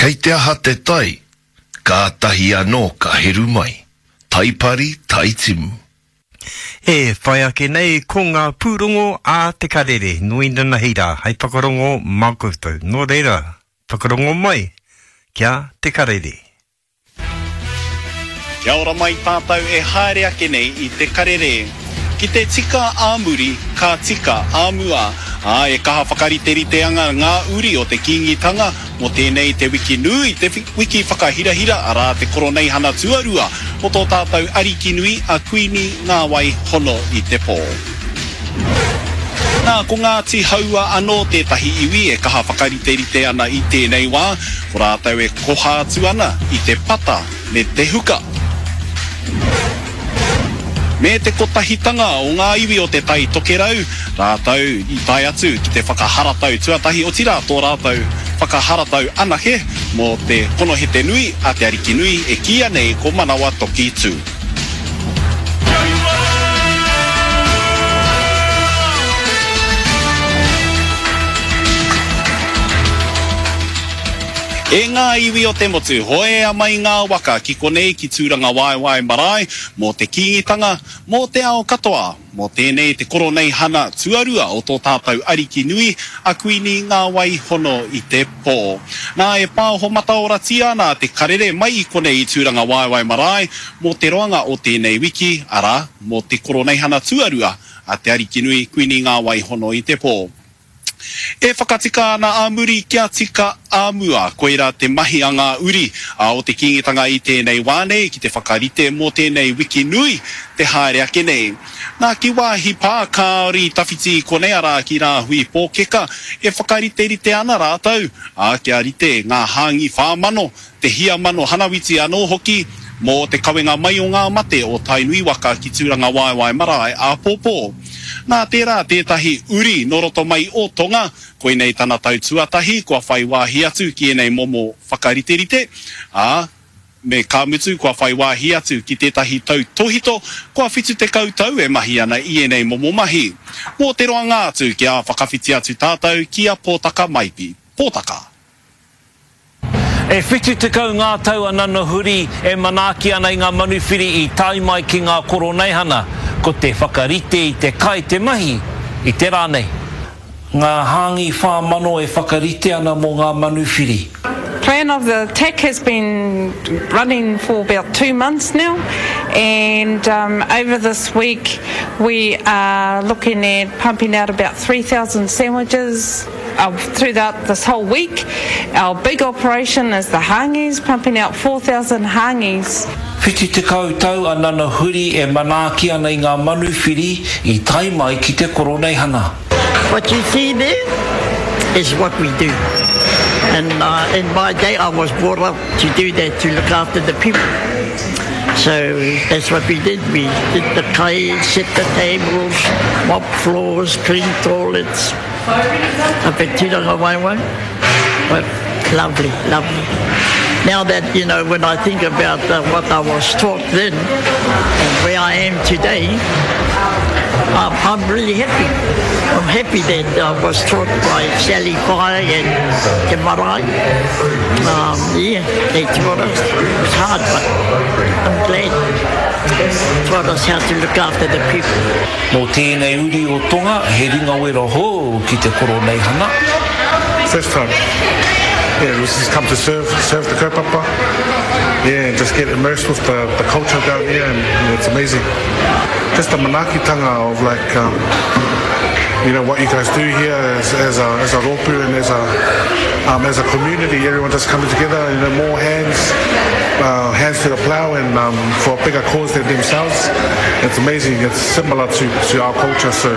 Kei te aha te tai, kātahi anō ka heru mai. Tai pari, tai timu. E whai ake nei ko ngā pūrongo a Te Karere, nō inanahi rā, hei whakarongo mā koutou. Nō reira, whakarongo mai ki a Te Karere. Kia ora mai tātou e haere ake nei i te karere. Ki te tika ā muri, ka tika ā mua. Ā, e kaha whakariterite ana ngā uri o te Kīngitanga mō tēnei te wiki nui, te wiki whakahirahira, arā te Koroneihana tuarua o tō tātou Arikinui a Kuini Ngāwai Hono i te Pō. Nā, ko Ngāti Haua anō tētahi iwi e kaha whakariterite ana i tēnei wā, ko rātou e koha atu ana i te pata me te huka. Me te kotahitanga o ngā iwi o Te Tai Tokerau, rātou i tae atu ki te whakaharatau tuatahi, otirā tō rātou whakaharatau anake mō te konohete nui a Te Arikinui e kīia nei ko Manawa Toki Tū. E ngā iwi o te motu, hoea mai ngā waka ki konei ki Tūrangawaewae marae mō te Kīngitanga, mō te ao katoa. Mō tēnei te Koroneihana tuarua o tō tātou Ariki nui, a Kuini Ngā Wai Hono i te Pō. Nā, e pāoho mataoratia ana te karere mai i konei i Tūrangawaewae marae mō te roanga o tēnei wiki, arā, mō te Koroneihana tuarua a te Arikinui Kuini Ngā Wai Hono i te Pō. E whakatika ana a muri kia tika a mua. Koirā te mahi a ngā uri o te Kīngitanga i tēnei wā nei ki te whakarite mō tēnei wiki nui te haere ake nei. Nā, ki wāhi pā kāore i tawhiti i konei arā ki Rāhui Pōkeka e whakariterite ana rātou, ā, kia rite ngā hāngi 4000 te hia mano hanawiti anō hoki mō te kawenga mai o ngā mate o Tainui waka ki Tūrangawaewae marae āpōpō. Nā tērā tētahi uri nō roto mai o Tonga, koinei tana tau tuatahi kua whai wāhi atu ki ēnei momo whakariterite, ā, me ka mutu kua whai wāhi atu ki tētahi tautōhito kua 70 tau e mahi ana i ēnei momo mahi. Mō te roanga atu kia whakawhiti atu tātou ki a Pōtaka Maipi. Pōtaka. E 70 ngā tau a Nana Huri e manaaki ana i ngā manuwhiri i tae mai ki ngā Koroneihana. Ko te whakarite i te kai te mahi i te rā nei. Ngā hāngi 4000 e whakarite ana mō ngā manuwhiri. Plan of the attack has been running for about two months now and over this week we are looking at pumping out about 3000 sandwiches throughout this whole week. Our big operation is the hāngis, pumping out 4,000 hāngis. 70 tau a Nana Huri e manaaki ana i ngā manuwhiri i tae mai ki te Koroneihana. What you see there is what we do and in my day I was brought up to do that, to look after the people. So that's what we did, we did the kai, set the tables, mop floors, clean toilets. Up at Tūrangawaewae. But lovely, lovely. Now that, you know, when I think about uh, what I was taught then and where I am today, um, I'm really happy. I'm happy that I was taught by Sally Fire and Te Marae. Um, yeah, they taught us. It was hard, but I'm glad. They taught us how to look after the people. Nō tēnei uri o Tonga, he ringawera hou ki te Koroneihana. First time. Yeah, we just come to serve, serve the kaupapa. Yeah, and just get immersed with the, the culture down here and, and it's amazing. Just the manaakitanga of like, um, you know, what you guys do here as, as a, as a rōpū and as a, um, as a community, everyone just coming together, you know, more hands, uh, hands to the plough and um, for a bigger cause than themselves. It's amazing, it's similar to, to our culture, so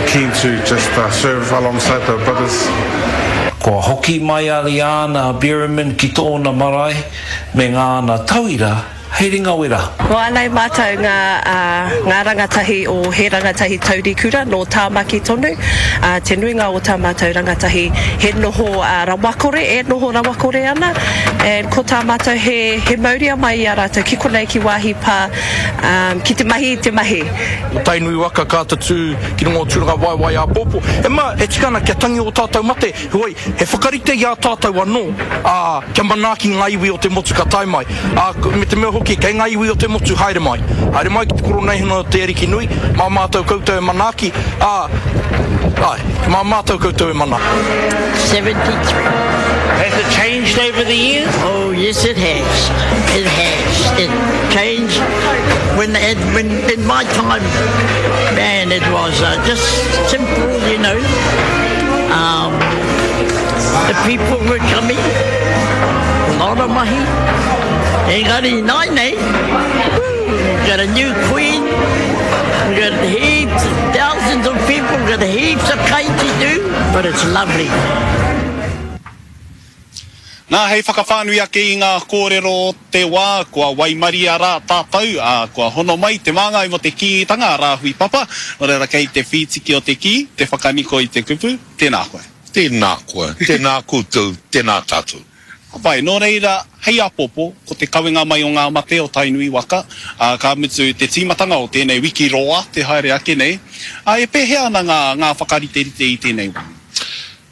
keen to just uh, serve alongside the brothers. Kua hoki mai a Liana Bereman ki tōna marae me ngāna tauira. Hei ringa wera. Ko ānei mātou ngā, ngā rangatahi o He Rangatahi Taurikura nō Tāmaki tonu. Te nuinga o tā mātou rangatahi he noho rawakore, e noho rawakore ana. And ko tā mātou he, he mauria mai i a rātou ki konei ki Waahi Pā ki te mahi i te mahi. Ko Tainui waka ka tatū ki runga o Tūrangawaewae āpōpō. E ma, e tika ana kia tangi ō tātou mate, heoi, he whakarite i a tātou anō, ā, kia manaaki ngā iwi o te motu ka tae mai. Ā, me te mea hoki, kei ngā iwi o te motu haere mai. Haere mai ki te Koroneihana o te Ariki Nui, mā mātou koutou e manaaki, ā, āe, mā mātou koutou e manaaki. 73. Has it changed over the years? Oh yes it has, it has, it changed when, when in my time, man it was uh, just simple, you know. Um, the people were coming, a lot of mahi. Engari nāianei, we've got a new queen, we've got heaps, thousands of people, we've got heaps of kai to do, but it's lovely. Nā, hei whakawhānui ake i ngā kōrero o te wā, kua waimaria rā tātou, ā, kua hono mai te māngai mō te Kīngitanga a Rāhui Papa, nō reira kei te whītiki o te kī, te whakaniko i te kupu, tēnā koe. Tēnā koe, tēnā koutou, tēnā tātou. Ka pai, nō reira, hei apopo, ko te kawenga mai o ngā mate o Tainui waka, ā, ka mutu te tīmatanga o tēnei wiki roa te haere ake nei, ā, e pēhea ana ngā, ngā whakariterite i tēnei wā?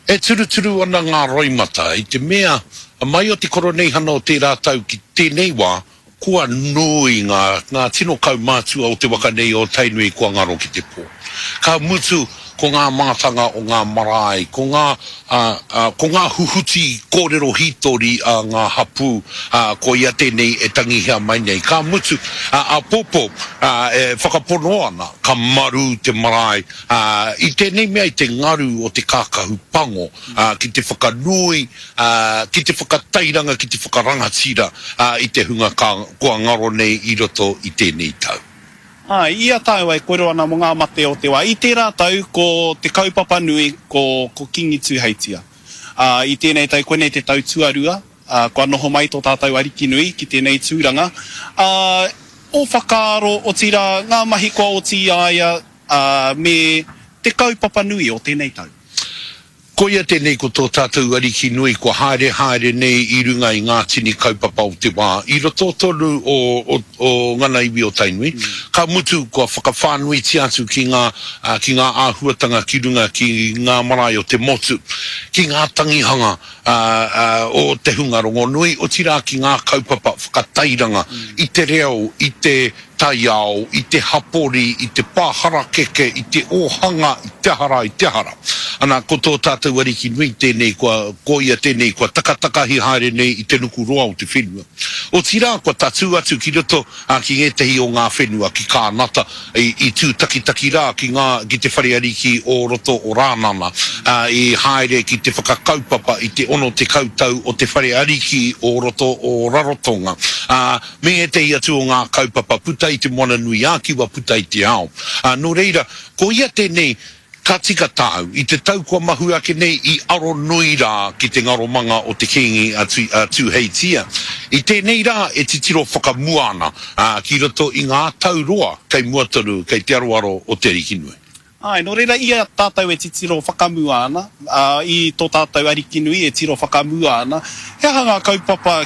E turuturu ana ngā roimata i te mea, mai o te Koroneihana o tērā tau ki tēnei wā, kua nui ngā, ngā tino kaumātua o te waka nei o Tainui kua ngaro ki te pō. Ka mutu, ko ngā mātanga o ngā marae, ko ngā, ā, ā, ko ngā huhuti kōrero hītori a ngā hapū, ā, koia tēnei e tangihia mai nei. Ka mutu, ā, āpōpō, ā, e whakapono ana ka marū te marae, ā, i tēnei mea i te ngaru o te kākahu pango, ā, ki te whakanui, ā, ki te whakatairanga, ki te whakarangatira, ā, i te hunga ka, kua ngaro nei i roto i tēnei tau. Āe, i a tāua e kōrero ana mō ngā mate o te wā, i tērā tau ko te kaupapa nui ko, ko Kīngi Tūheitia. Ā, i tēnei tau, koinei te tau tuarua, ā, kua noho mai tō tātou Ariki nui ki tēnei tūranga. Ā, ō whakaaro, otirā, ngā mahi kua oti i a ia, ā, me te kaupapa nui o tēnei tau. Koia tēnei ko tō tātou Ariki nui kua haere haere nei i runga i ngā tini kaupapa o te wā i roto tonu o o ngana iwi o Tainui, ka mutu kua whakawhānuitia atu ki ngā ki ngā āhuatanga ki runga ki ngā marae o te motu, ki ngā tangihanga o te hunga rongonui, otirā ki ngā kaupapa whakatairanga i te reo, i te taiao, i te hapori, i te pā harakeke, i te ōhanga, i te aha rā, i te aha rā. Ana, ko tō tātou Ariki nui tēnei kua, ko ia tēnei kua takatakahi haere nei i te nuku roa o te whenua. Otirā, kua tatū atu ki roto, ā, ki ngētehi o ngā whenua, ki Kānata, i, i tūtakitaki rā ki ngā, ki te whare ariki o roto o Rānana, ā, i haere ki te whakakaupapa i te 60 tau o te whare ariki o roto o Rarotonga, ā, me ētehi atu o ngā kaupapa puta i Te Moana-nui-ā-Kiwa, puta i te ao. Ā, nō reira, ko ia tēnei, ka tika tāu, i te tau kua mahue ake nei i aro nui rā ki te ngaromanga o te Kīngi a Tūheitia. I tēnei rā e titiro whakamua ana, ā, ki roto i ngā tau roa kei mua tonu, kei te aroaro o Te Arikinui. Āe, nō reira i a tātou e titiro whakamua ana, ā, i tō tātou Ariki nui e tiro whakamua ana, he aha ngā kaupapa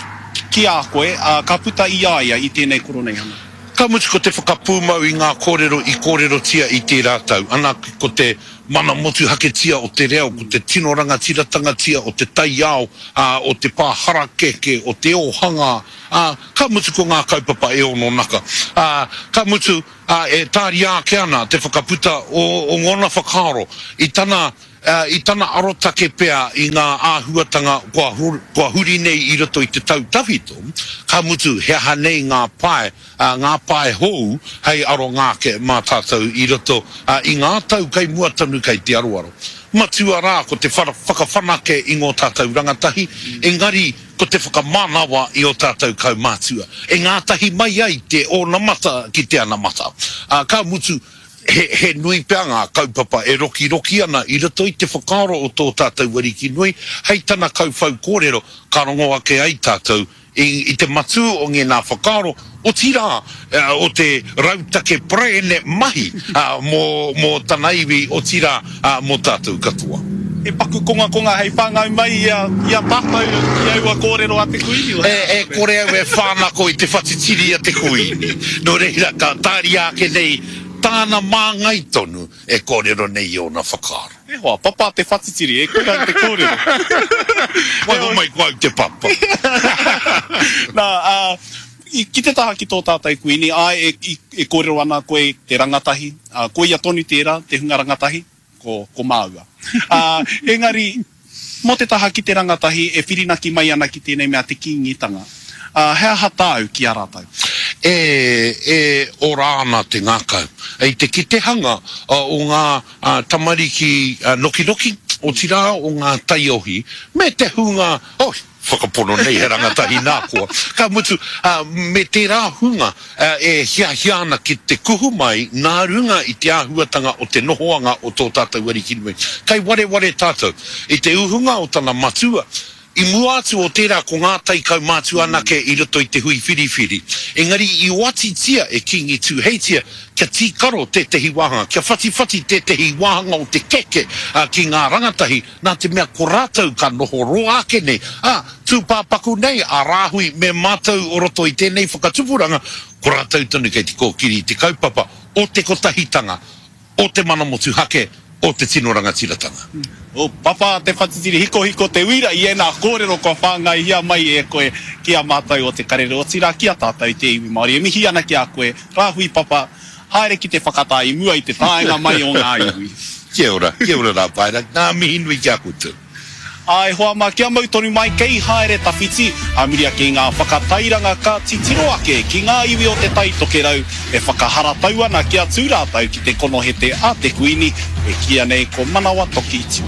ki a koe, ā, ka puta i a ia i tēnei Koroneihana? Ka mutu ko te whakapūmau i ngā kōrero i kōrerotia i tērā tau, ana, ko te mana motuhaketia o te reo, ko te tino rangatiratanga-tia o te taiao, ā, o te pā harakeke, o te ōhanga, ā, ka mutu ko ngā kaupapa e ononaka, ā, ka mutu, ā, e tāria ake ana te whakaputa o, o ngōna whakaaro i tana, ā, i tana arotake pea i ngā āhuatanga kua, kua huri nei i roto i te tau tawhito, ka mutu he aha nei ngā pae, ā, ngā pae hou hei aronga ake mā tātou i roto, ā, i ngā tau kei mua tonu kei te aroaro. Matua rā ko te whakawhanake i ngō tātou rangatahi, engari ko te whakamanawa i ō tātou kaumātua, e ngātahi mai ai te onamata ki te anamata. Ā, ka mutu, he, he nui pea ngā kaupapa e rokiroki ana i roto i te whakaaro o tō tātou Ariki nui, hei tana kauwhau kōrero ka rongo ake ai tātou i te matū o ngēnā whakaaro, otirā, o te rautake paraene mahi mō tana iwi, otirā, mō tātou katoa. He paku kongakonga hei whāngai mai i a tātou i aua kōrero a te Kuini. E kore au e whānako i te whatitiri a te Kuini, nō reira ka tāria ake nei tāna māngai tonu e kōrero nei i ōna whakaaro. E hoa, papa te whatitiri, e kore au te kōrero. Waiho mai ko au te papa. Nā, ā, ki te taha ki tō tātou Kuini, āe, e, e kōrero ana koe te rangatahi, ā, koia tonu tērā, te hunga rangatahi, ko, ko māua. Ā, engari, mō te taha ki te rangatahi e whirinaki mai ana ki tēnei mea te Kīngitanga, ā, he aha tāu ki a rātou? E, e ora ana te ngākau i te kitehanga o ngā tamariki nokinoki, otirā o ngā taiohi, me te hunga, oh, Whakapono nei he rangatahi nā koa. Ka mutu, me tērā hunga e hiahia ana ki te kuhu mai nā runga i te āhuatanga o te nohoanga o tō tātou Ariki nui. Kei wareware tātou i te uhunga o tana matua, i mua atu o tērā ko ngā taikaumātua anake i roto i te hui whiriwhiri. Engari i oatitia e Kīngi Tūheitia kia tīkaro tētehi wāhanga, kia whatiwhati tētehi wāhanga o te keke ki ngā rangatahi, nā te mea ko rātou ka noho roa ake nei, ā, tūpāpaku nei a Rāhui me mātou o roto i tēnei whakatupuranga, ko rātou tonu kei te kōkiri i te kaupapa o te kotahitanga, o te mana motuhake, o te tino rangatiratanga. O Papa te whatitiri hikohiko te uira i ēnā kōrero kua whāngaihia mai e koe ki a mātou o Te Karere, otirā ki a tātou te iwi Māori. E mihi ana ki a koe, Rāhui Papa, Haere ki te whakatā i mua i te taenga mai o ngā iwi. Kia ora, kia ora rā Paera, ngā mihi nui ki a koutou. Ā, e hoa mā, kia mau tonu mai, kei haere tawhiti, ā muri ake i ngā whakatairanga ka titiro ake ki ngā iwi o Te Tai Tokerau e whakaharatau ana kia tū rātou ki te konohete a te Kuini, e kīia nei ko Manawa Toki Tiki.